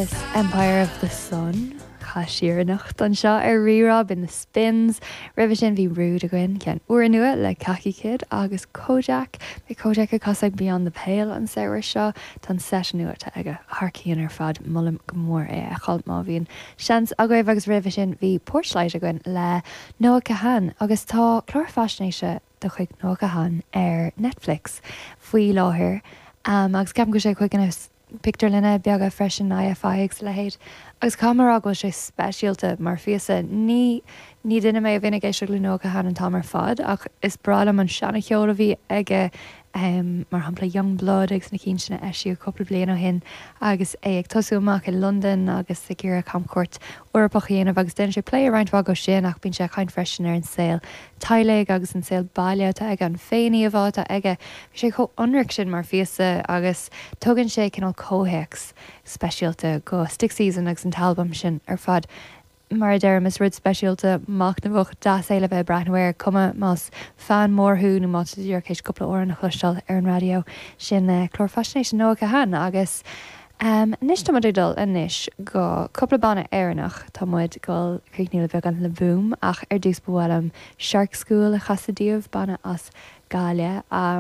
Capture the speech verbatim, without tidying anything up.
Empire of the Sun chaith siar anocht anseo ar Rí-Rá b'in The Spins. Roimhe sin bhí Rude againn ceann úrnua le Khaki Kid agus Kojaque. Beidh Kojaque ag casadh Beyond the Pale an samhradh seo tá an set nua atá aige thar cionn ar fad molaim go mór é a fheiceáil má bhíonn seans agaibh agus roimhe sin bhí Porchlight againn le Noah Kahan agus tá clár faisnéise de chuid Noah Kahan ar Netflix faoi láthair um, agus ceapaim go sé chuig na pictiúrlanna beaga freisin IFI agus leithéid. Agus caithfidh mé go sé speisialta mar phíosa ní ní duine mé a bhíonn ag éisteacht le Noah Kahan an t-am ar fad ach is breá liom an seancheol a bhí aige um, mar shampla Young Blood agus na cinn sin a eisíodh cúpla bliain ó shin agus é ag tosú amach i London agus ag iarraidh camchuairt Eorpach a dhéanamh agus déanann sé plé ar roinnt mhaith sin ach bíonn sé ag caint freisin ar an saol teaghlaigh agus an saol baile atá aige an féiníomhá atá aige. Bhí sé chomh hionraic sin mar phíosa agus tugann sé cineál comhthéacs speisialta go Stick Season agus an t-albam sin ar fad. Mar a deirim is rud speisialta machnamhach deas é le bheith breathnú air cuma más fan mór thú nó má tá tú théis cúpla amhrán a chloisteáil ar an raidió sin uh, clár faisnéise Noah Kahan agus Um, anois tá muid dul anois go cúpla banna Éireannach tá muid ag dul críochnú le beagán le Boom ach ar dtús ba mhaith liom Shark School a chasadh daoibh banna as Gaillimh. Um,